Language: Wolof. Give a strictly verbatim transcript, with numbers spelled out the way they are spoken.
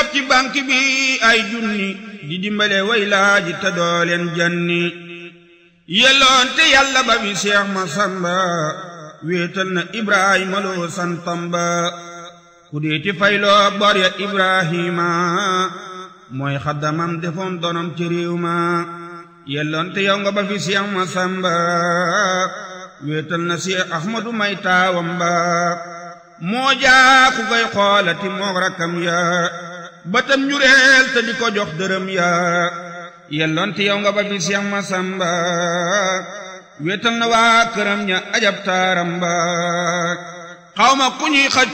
rob ci banque bi ay junni di dimbale way laaji te doo leen janni yelloon te yàlla ba bi Seex Masamba wéetal na Ibrahima loo santam ba ku dee ci fayloo bor ya Ibrahima mooy xaddamam defoon donom ci réew ma yelloon te yow nga ba fi Seex Masamba wéetal na Seex Ahmadu may taawam ba moo jaa ku koy xoolati moog rakkam ya batam njureel te di ko jox dërëm ya yelloon te yow nga ba fi Seex Masamba wéetal na waa këram ña ajab taaram ba xawma ku ñuy xaccu